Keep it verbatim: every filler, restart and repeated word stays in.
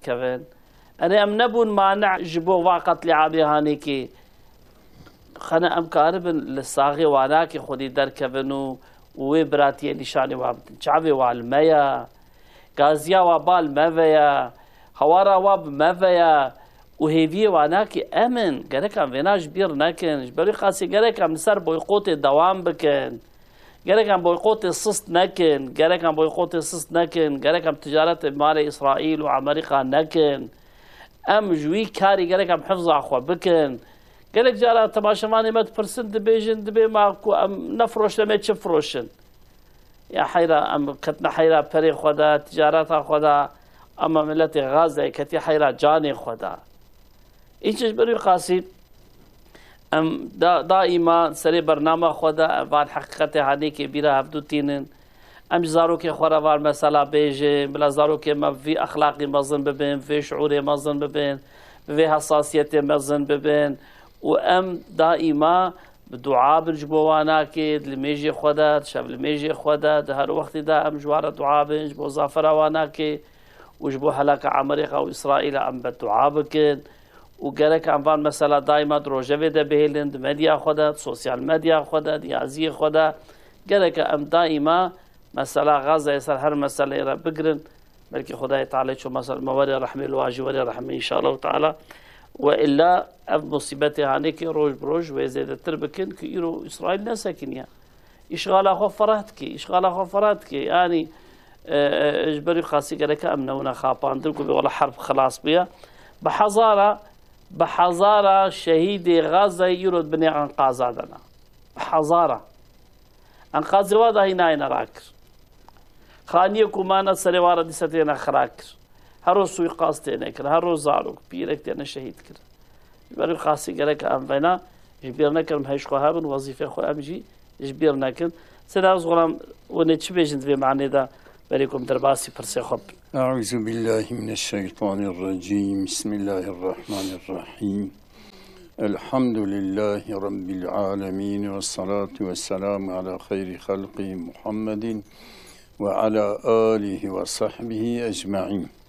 kevin. Erê em nebûn mane ji bo va qetlîamê Hanêkê. Xene em karibin li saxê wanakê xwedî derkevin û, û wê biratiyê nîşanî wa bidin. Çavê wa li me ye. Gaziya wa ba li me ve ye. Hawara wa bi me ve ye. Û hêviyê wanakê em in. Gerek em vêna ji bîr nekin. Ji ber wî qasî gerek em li ser boykotê dewam bikin. Gerek em boykotê sist nekin. Gerek em boykotê sist nekin. Gerek em ticaretê bi malê Îsraîl û Amerîka nekin. Em ji wî karî gerek em hifza xwe bikin. Gelek cara temaşevanê me dipirsin, dibêjin, dibê ma ku em nefiroşin, em ê çi firoşin? Ya heyra, em ketine heyra perê xwe de, ticareta xwe de, ama miletê Gazeyê ketî heyra canê xwe de. Îç ji ber wî qasî em da, daîma serê bernama xwe de van heqîqetê Hanêkê bîra hevdû tînin. Em ji zarokê xwe re van mesela bêjin, bila zarokê me bi vî exlaqî mezin bibin, bi vê şiûrê mezin bibin, bi vê hesasiyetê mezin bibin û em daîma bi dua bin ji bo wanakê, di limêjê xwe de, di şevlimêjê xwe de, di her wextî de em ji wan re dua bin, ji bo zafera wanakê û ji bo helaka Amerîka û Îsraîla em bedua bikin. Û gerek em van mesela daîma di rojevê de bihêlin, di medya xwe de, di sosyal medya xwe de, di yaziyê xwe de. Gerek em daîma mesela Gazeyê ser her meseleyê re bigirin. Belkî Xwedayê Teala ço mesela me werê rehmê, li wan jî werê rehmê înşallah teala. We illa ev musîbetê Hanêkê roj bi roj wê zêdetir bikin ku îro Îsraîl nesekiniye. Îşxala xwe fereh dike, îşxala xwe fereh dike. Yanî, e, e, ji ber wî qasî gereke em newine xapandin ku bê wela herb xilas bûye. Bi hezara, bi hezara şehîdê Gazayê îro di binê enqaza de ne. Bi hezara. Enqazê wa dahî nayêne rakir. Xaniyê ku mane serê wa re dîse têne xirakir. Her roj suîqas têne kir, her roj zarok, pîrek têne şehîd kir. Ji ber wî qasî gerek em vena ji bîr nekin, em hej xwe hebin, wezîfê xwe em jî ji bîr nekin. Sena ez xwe hûn ê çi bêjin di vê manê de, berê ku em derbasî pirsê xwe bin. أعوذ بالله من الشيطان الرجيم. بسم الله الرحمن الرحيم. الحمد لله رب العالمين، والصلاة والسلام على خير خلقه محمد وعلى آله وصحبه أجمعين.